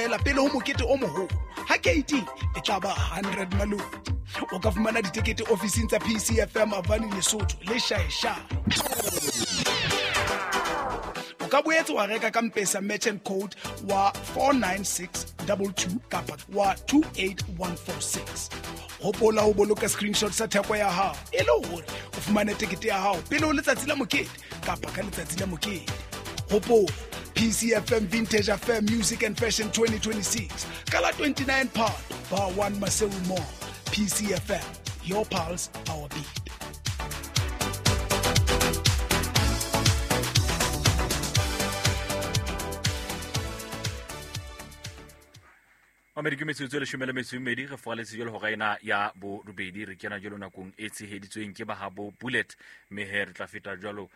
Ela pele ho mokete o moholo ha keiting e tla ba 100 maloti. O ka fumana ditekete ofising tsa PCFM Avani Lesotho le Shaeshae. O ka boetse wa reka ka Mpesa merchant code wa 49622 kapa wa 28146. Hopola ho boloka screenshot sa theko ya hao e le hore o fumane tekete ya hao pele ho letsatsi la mokete kapa ka letsatsi la mokete. Hopola PCFM Vintage Affair Music and Fashion 2026 ka la 29 Phato, Bar 1 Maseru Mall. PCFM, your pulse, our beat. Mamedi, ke metsotso e leshome le metso e mmedi re foaletse jalo hora ena ya borobedi. Re kena jalo nakong e tsheheditsweng ke bahabo Bullet, mme he re tla feta jalo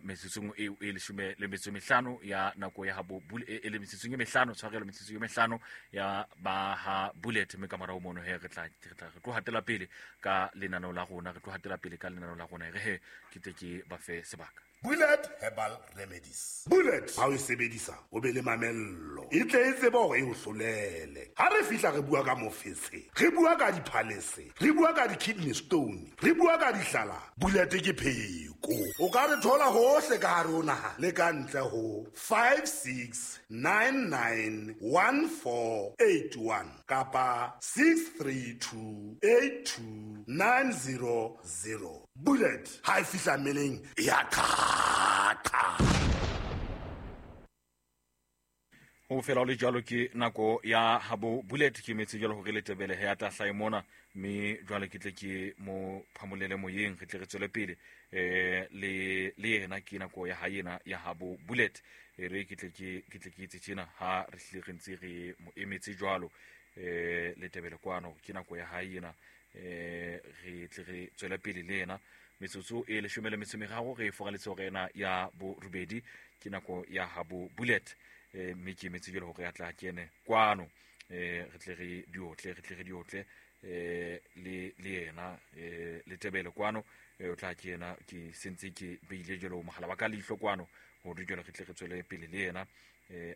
metsotsong eo e leshome le metso e mehlano ya nako ya habo e le metsotsong e mehlano, tshwarelo, metsotsong e mehlano ya ba ha Bullet, mme ka morao mono he re tla re tla re tlo hatela pele ka lenaneo la rona, re tlo hatela pele ka lenaneo la rona. E re he ke tle ke ba fe sebaka. Bullet Herbal Remedies. Bullet ha o e sebedisa o be le mamello, e tle e tsebe hore e o hlolele. Ha re fihla re bua ka mofetshe, re bua ka diphalese, re bua ka di-kidney stone, re bua ka dihlala. Bullet ke pheko. O ka re thola hohle ka hare ho naha le ka ntle ho 56991481 kapa 63282900. Bullet ha e fihla mmeleng e ya qhaqa. Ho fela ho le jwalo ke nako ya habo Bullet, ke metse jwalo hore le tebele he ya tla hlahe mona, mme jwale ke tle ke mo phamolele moyeng, re tle re tswele pele le le yena. Ke nako ya hae ena ya habo Bullet, e re ke tle ke ke tle ke etse tjena ha re hlile re ntse re mo emetse jwalo. Le tebele kwano, ke nako ya hae ena, re tle re tswele pele le yena. Metsotso e leshome le metso e meraro re foraletse hore ena ya borobedi, ke nako ya habo Bullet, mme ke emetse jwale hore a tla kene kwano, re tle re diotle, re tle re diotle le le yena. Le tebele kwano, o tla kena, ke sentse ke beile jwalo mohala wa ka leihlo kwano hore jwale re tle re tswele pele le yena,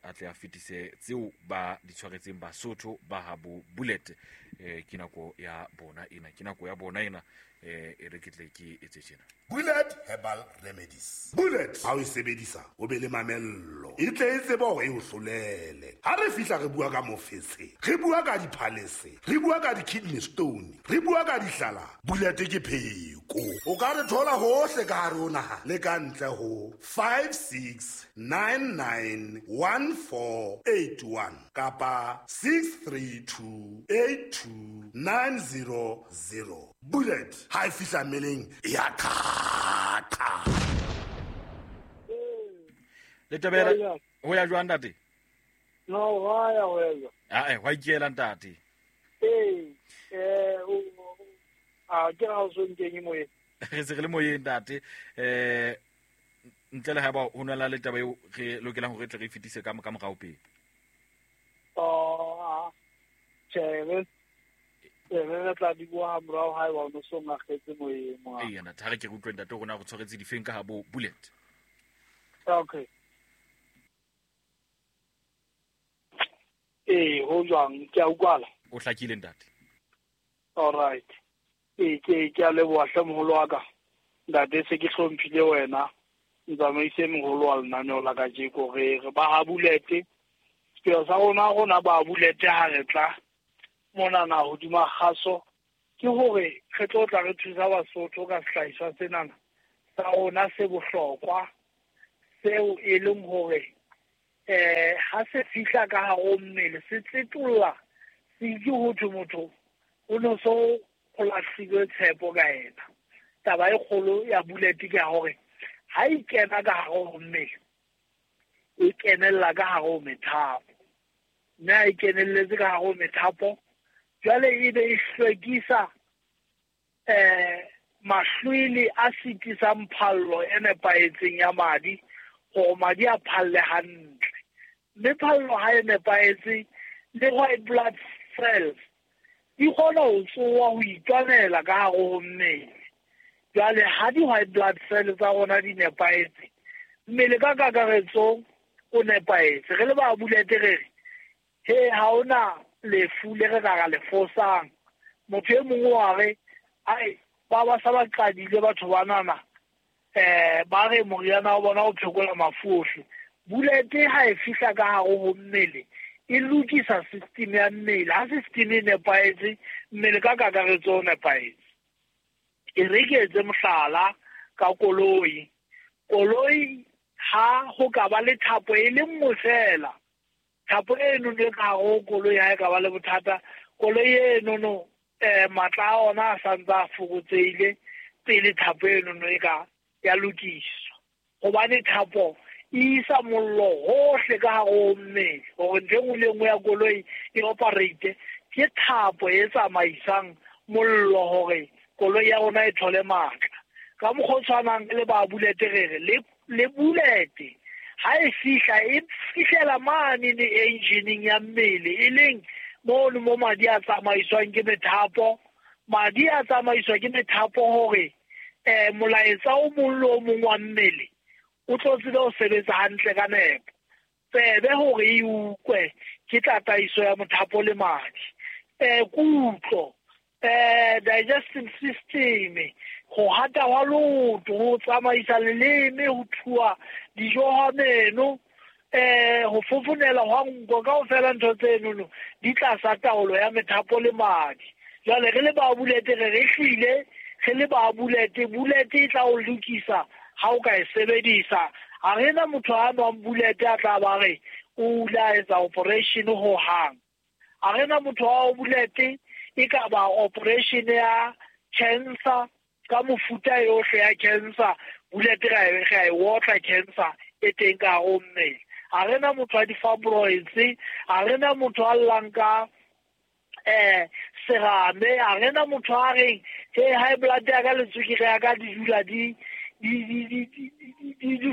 a tle a fetise tseo ba di tshwaretseng Basotho ba habo Bullet. Ke nako ya bona ena, ke nako ya bona ena, e re ke tle ke etse tjena. Bullet Herbal Remedies. Bullet ha o e sebedisa o be le mamello, e tle e tsebe hore e o hlolele. Ha re fihla re bua ka mofetshe, re bua ka diphalese, re bua ka di-kidney stone, re bua ka dihlala. Bullet ke pheko. O ka re thola hohle ka hare ho naha le ka ntle ho 56991481 kapa 63282900. Bullet ha e fihla mmeleng e ya qhaqa. Le tebele ho ya jwang ntate? No, wa ya ho ya jwang? Ae, wa ikela ntate. Ee, a ke ra o so nkenye moyeng. Re se re le moyeng ntate. Ntle le haeba ho na le taba eo re lokelang hore re tle re fetise ka ka morao pele. Oh, tjhe, re re tla di bua ha morao haeba o no so ngakgetse moyeng mo. Ee, ntate, ha re ke re utlwe ntate rona re tshwaretse difeng ka habo Bullet. Okay. Ee, ho jwang? Ke a utlwala. O hlakile ntate. All right. Ee, ke ke a leboha hle moholo wa ka. Ntate, se ke hlomphile wena. Ntsamaise moholo wa lenaneo la kajeko, re re ba ha Bullet. Sepheo sa rona rona ba Bullet ha re tla monana hodima kgaso ke hore re tlo tla re thusa Basotho ka sehlahiswa senana sa rona se bohlokwa, seo e leng hore ha se fihla ka hare ho mmele se tsetolla, se itse ho thwe motho o no so o lahlilwe tshepo ka yena. Taba e kgolo ya Bullet ke ya hore ha e kena ka hare ho mmele, e kenella ka hare ho methapo, mme ha e kenelletse ka hare ho methapo jwale e be e hlwekisa mahlwele a sitisang phallo e nepahetseng ya madi, hore madi a phalle hantle. Mme phallo ha e nepahetse, le white blood cells di kgona ho tsoha ho itwanela ka hare ho mmele. Jwale ha di-white blood cells tsa rona di nepahetse, mmele ka kakaretso o nepahetse. Re le ba Bullet re re He ha ona lefu le re ka ra le fosang. Motho e mongwe wa re ai ba ba sa ba qadile batho banana, ba re moriana wa bona o phekola mafu ohle. Bullet ha e fihla ka hare ho mmele, e lokisa system ya mmele. Ha system e nepahetse, mmele ka kakaretso o nepahetse. E re ke etse mohlala ka koloi. Koloi ha ho ka ba le thapo e le nngwe fela, thapo eno e ka hare ho koloi ha e ka ba le bothata, koloi enono matla a ona a santse a fokotsehile pele thapo enono e ka ya lokiswa. Hobane thapo e isa mollo hohle ka hare ho mmele, hore ntho e nngwe le nngwe ya koloi e operate, ke thapo e tsamaisang mollo hore koloi ya rona e thole matla. Ka mokgwa o tshwanang le ba Bullet re re le Bullet ha e fihla, e fihlela mane le engineeng ya mmele, e leng mono mo madi a tsamaiswang ke methapo. Madi a tsamaiswa ke methapo hore molaetsa o mong le o mong wa mmele o tlo tsebe ho sebetsa hantle ka nepo. Tsebe hore e utlwe ke tataiso ya mothapo le madi. Kutlo, digestive system, ho hata hwa leoto, ho tsamaisa leleme, ho thuwa dijo hwa meno, ho fofonela hwa nko, kaofela ntho tsenono di tlasa taolo ya methapo le madi. Jwale re le ba Bullet re re hlile re le ba Bullet, Bullet e tla o lokisa ha o ka e sebedisa. Ha re na motho a nwang Bullet a tla ba re o ile a etsa operation ho hang. Ha re na motho wa Bullet e ka ba operation ya cancer, ka mofuta yohle ya cancer, Bullet ra e otla cancer e teng ka hare ho mmele. Ha re na motho wa di-fibroids, ha re na motho a llang ka serame, ha re na motho a reng he high blood ya ka le tswekere ya ka di dula di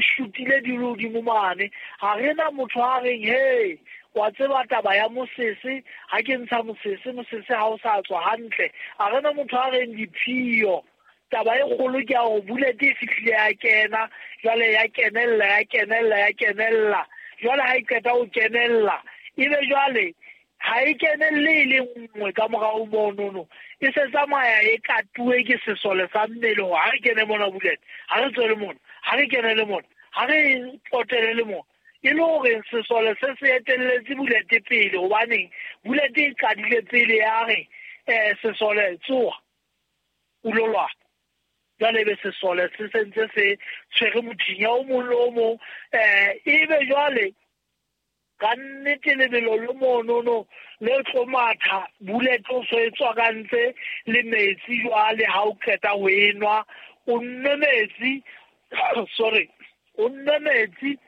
shutile di le hodimo mane. Ha re na motho a reng he wa tseba taba ya mosese, ha ke ntsha mosese, mosese ha o sa tswa hantle. Ha re na motho a reng diphio. Taba e kgolo ke ya hore Bullet e fihlile ya kena, jwale ya kenella, ya kenella, ya kenella. Jwale ha e qeta ho kenella, ebe jwale ha e kenelle e le nngwe ka morao monono, e se tsamaya e katuwe ke sesole sa mmele hore ha re kene mona Bullet, ha re tswele mona, ha re kene le mona, ha re potele le mona. E le hore sesole se se etelletse Bullet pele, hobaneng Bullet e qadile pele ya re sesole tsoha o lo lwana. Jwale ebe sesole se sentse se tshwere mothinya o mong le o mong, ebe jwale ka nnete lebelo le monono le tlo matha, Bullet o so e tswakantse le metsi. Jwale ha o qeta ho enwa, o nwe metsi, sorry, o nwe metsi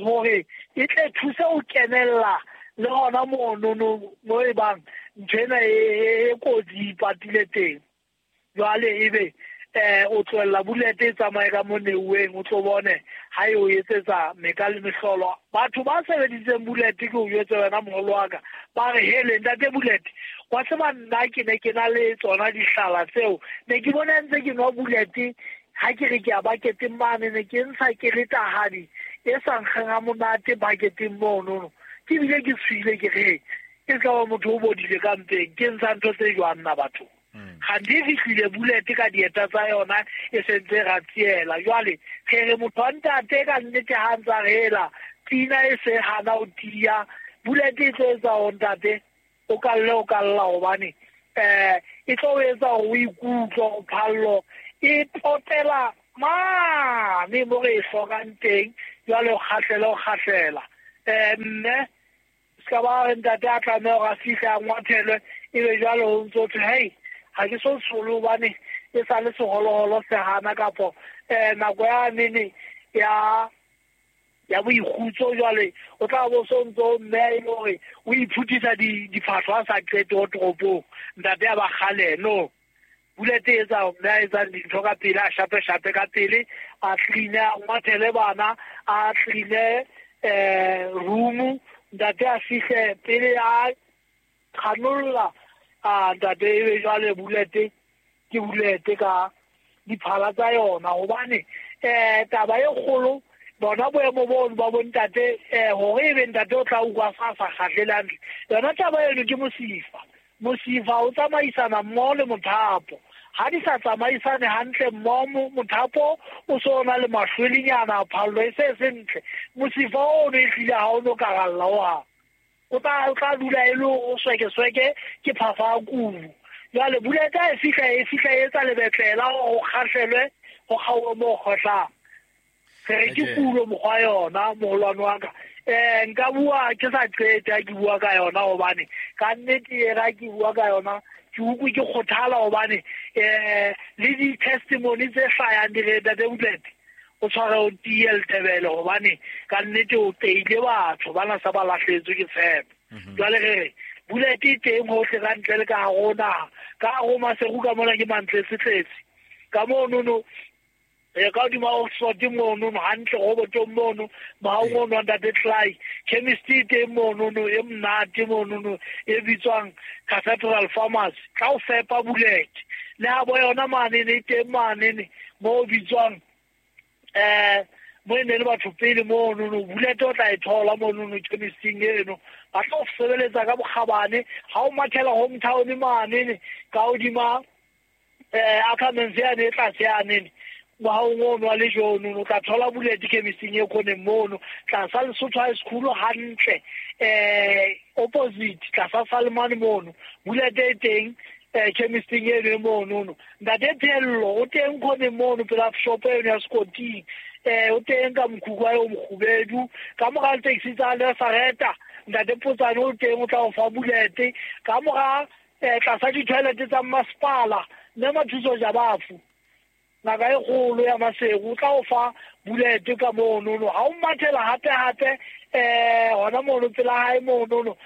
hore e tle thuse ho kenella le hona monono mo e bang ntho ena e kotsi ipatile teng. Jwale ebe o tlohella Bullet e tsamaye ka mo neuweng, o tlo bone ha e o etsetsa meka le mehlolo. Batho ba sebeditseng Bullet, ke o jwetse wena moholo wa ka, ba re hele ntate Bullet, wa tseba nna ke ne ke na le tsona dihlala tseo, ne ke bona ntse ke nwa Bullet ha ke re ke ya baketeng mane, ne ke ntsha ke le tahadi e sa nkgeng ha monate baketeng monono, ke bile ke tshohile ke re e ka ba motho o bodile ka mpeng, ke ntsha ntho tse jwang nna batho. Ganthe e fihlile Bullet ka dieta tsa yona e sentse ra tsiela. Jwale re re motho wa ntate ka nnete ha ntsa re hela pina e se hana ho tiya, Bullet e tlo etsa hore ntate o kalle o kalla, hobane e tlo etsa hore o ikutlwe o phallo e potela mane mo re e hlokang teng. Jwale o kgahlela o kgahlela, mme ska ba re ntate a tlameha hore a fihle a ngwathelwe, ebe jwale ho ntso thwe hei ha ke so tsholo hobane e sa le seholoholo se hana, kapo nako ya nene ya boikgutso. Jwale o tla bo so ntso mme e le hore o iphuthisa diphahlo a sa qete ho toropong, ntate ya ba kgale. No, Bullet e etsa mme a etsang dintho ka pele, a shape shape ka pele, a clean-e, a ngwathele bana, a clean-e room, ntate a fihle pele a kganolla. Ntate ebe jwale Bullet ke Bullet ka diphala tsa yona, hobane taba e kgolo Bona boemo bono ba bontate hore ebe ntate o tla utlwa sa sa kgahlele hantle. Yona taba eno ke mosifa. Mosifa o tsamaisana mmoho le mothapo. Ha di sa tsamaisane hantle mmoho, mothapo o so na le mahlwelinyana, phallo e se se ntle. Mosifa ono e hlile ha o no karalla hohang. O tla dula e le o sweke-sweke ke phafa a kubu. Jwale buleta e fihla e etsa lebetlela hore ho kgahlelwe ho kgaohe moo kgohlang. Re re ke kulo mokgwa yona moholwane wa ka. Nka bua ke sa qete ha ke bua ka yona hobane ka nnete e ra ke bua ka yona ke utlwe ke kgothala hobane le di-testimony tse hlayang di re Ntate Bulete o tshware o tiye letebele hobane ka nnete o teile batho bana sa ba lahletswe ke tshepo. Jwale re re Bulete e teng hohle ka ntle le ka hare ho naha. Ka hare ho Maseru ka mona ke mantletse-tletse. Ka monono ka hodima Oxford mono hantle robotong mono mohaong ono wa Ntate Clay. Chemist e teng monono e monate monono e bitswang Cathedral Pharmacy. Tla o fepa Bulete. Le ha bo yona manene e teng manene mo bitswang mo e ne le batho pele monono Bulete o tla e thola monono chemisting eno. Ba tla o sebeletsa ka bokgabane ha o mathela hometown manene ka hodima Ackermans yane e tlase yanene mohaong ono wa lejono o tla thola Bulete chemisting e khoneng mono tlasa Lesotho High School hantle opposite tlasa Salmane mono Bulete e teng chemisting eno e monono. Ntate Phello o teng khoneng mono pela shop eno ya Skoting o teng ka mokhukhu wa o mokgubedu ka mora taxi tsa Lesareta Ntate Potsane o teng o tla o fa Bulete ka mora tlasa di-toilet tsa masepala mme Mathuso Jabafu ngaka e kgolo ya Maseru o tla o fa Bulete ka monono. Ha o mathela hape hona mono pela hae monono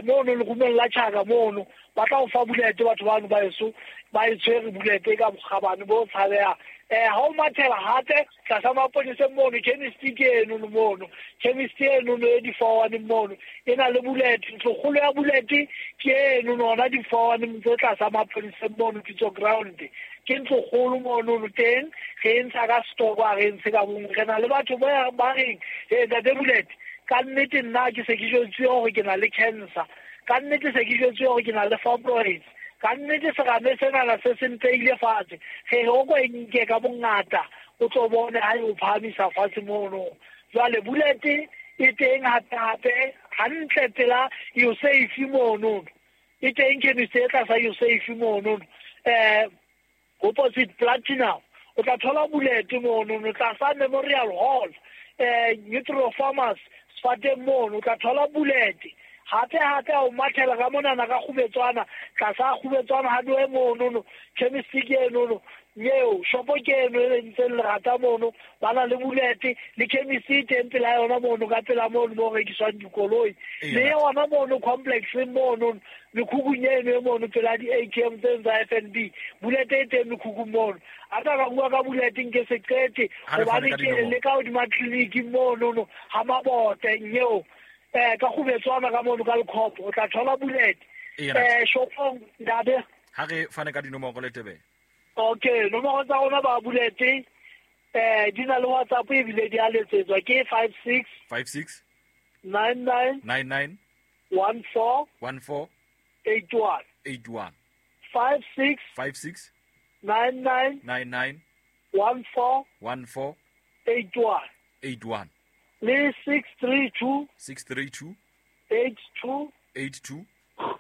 mono lerumong la tjhaka mono ba tla o fa Bulete batho bano ba eso ba e tshwere Bulete ka bokgabane bo tshabehang. Ha o mathela hape tlasa maponeseng mono chemist ke eno mono chemist eno e di-four-one mono e na le Bulete. Ntlokgolo ya Bulete ke eno hona di-four-one tse tlasa maponeseng mono Pitso ground ke ntlokgolo monono teng re e ntsha ka stock ha re ntshe ka bonngwe. Re na le batho ba reng Ntate Bulete ka nnete nna ke se ke jwetsuwe hore ke na le cancer, ka nnete se ke jwetsuwe hore ke na le fibroids, ka nnete serame senana se se nteile fatshe. Re re o ko e nke ka bongata o tlo bone ha e o phahamisa fatshe mono. Jwale Bulete e teng hape hantle pela Usafe mono e teng chemist e tlasa Usafe mono opposite Platinum o tla thola Bulete mono tlasa Memorial Hall Nutro Farmers Sfateng mono o tla thola Bulete. Hape o mathela ka monana ka Kgubetswana tlasa Kgubetswana hardware monono chemist ke enono eo shopo ke eno e ntseng lerata mono ba na le Bulete le chemist e teng pela yona mono ka pela mono mo rekiswang dikoloi le yona mono complex mono mekhukung eno e mono pela di-ATM tse tsa FNB Bulete e teng mekhukung mono. A ka ka bua ka Bulete nke se qete hobane ke le ka hodima tleliniki monono ha Mabote nyeo ka Kgubetswana ka mono ka Lekhopo o tla thola Bulete shopong ntate. Ha re fane ka dinomoro le tebe. Okay, nomoro tsa rona ba Bulete di na le WhatsApp ebile di a letsetswa ke 56 56 99 99 14 14 81 81 56 56 99 99 14 14 81 81 le 632 632 82 82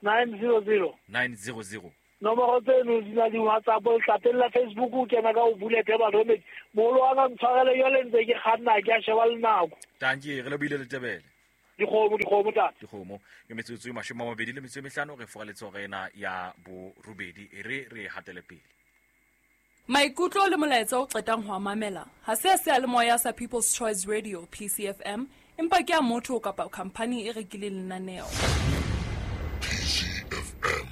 900 900. Nomoro tseno di na le WhatsApp letlapeng la Facebook o kena ka o Bulete ba romedi. Moholo wa ka ntshwarele jwale ntse ke kganna ke a sheba le nako. Tanki re lebohile Letebele. Dikgomo tate. Dikgomo ke metsotso e 25 re foraletse hora ena ya borobedi e re hatele pele. Maikutlo le molaetsa o qetang ho a mamela ha se seyalemoya sa People's Choice Radio PCFM empa ke a motho kapa khampani e rekileng lenaneo. PCFM,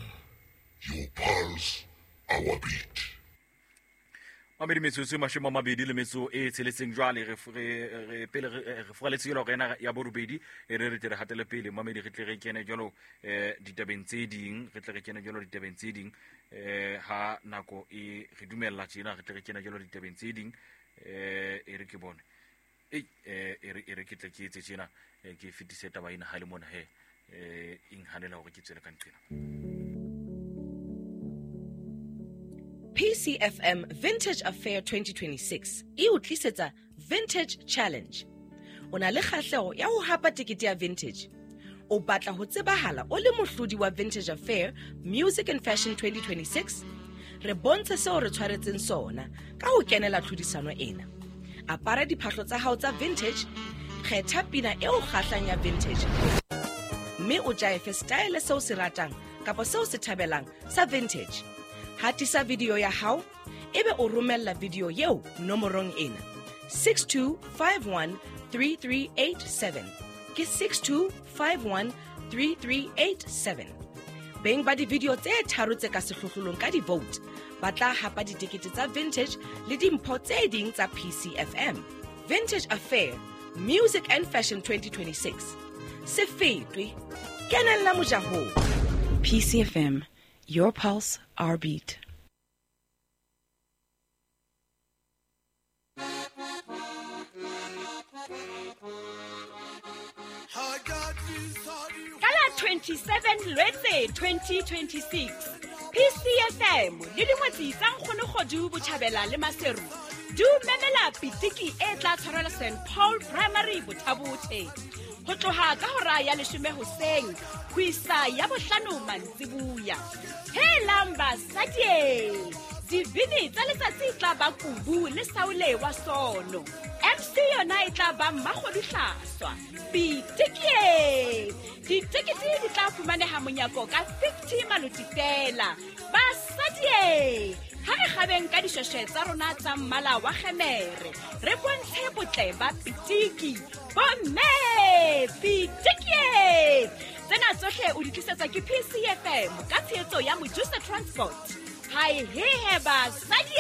your pulse, our beat. Mamedi metsotso e 26 jwale re pele re foraletse jalo hora ena ya borobedi e re tle re hatele pele mamedi re tle re kene jalo ditabeng tse ding re tle re kene jalo ditabeng tse ding ha nako e re dumella tjena re tle re kene jalo ditabeng tse ding e re ke bone Ei e re ke tle ke etse tjena, ke fetise taba ena ha le mona he e nhanela hore ke tswele ka nqena. PCFM Vintage Affair 2026 e o tlisetsa Vintage Challenge. O na le kgahleho ya ho hapa tekete ya Vintage. O batla ho tsebahala o le mohlodi wa Vintage Affair Music and Fashion 2026? Re bontshe seo re tshwaretseng sona ka ho kenela tlhodisano ena. Apara diphahlo tsa hao tsa vintage, kgetha pina e o kgahlang ya vintage, mme o jaefe style seo se ratang kapa seo se thabelang sa vintage. Hatisa video ya hao, ebe o romella video eo nomorong ena 62513387. Ke 62513387. Beng ba di-video tse tharo tse ka sehlohlolong ka di-vote ba tla hapa ditekete tsa vintage le dimpho tse ding tsa PCFM. Vintage Affair Music and Fashion 2026. Se fetwe, kenella mojahong. PCFM, your pulse, our beat. Ka la 27 Lwetse 2026, PCFM le dingwetsi tsa Nkgonokgodu Botjhabela le Maseru di o memela pitiki e tla tshwarelwa St Paul Primary Bothabothe ho tloha ka hora ya 10 hoseng ho isa ya 5 mantsibuya. Helang basadi, dibini tsa letsatsi tla ba Kubu le Saule wa Sono. MC yona e tla ba Mmakgodu Hlaswa. Pitikie! Ditekete di tla fumaneha monyako ka 50 maloti fela. Basadi, ha re kgabeng ka dishweshwe tsa rona tsa mmala wa kgemere, re bontshe botle ba pitiki. Bomme, pitikie! Tsena tsohle o di tlisetswa ke PCFM ka tshehetso ya Mojusa Transport. Hai hehe basadi!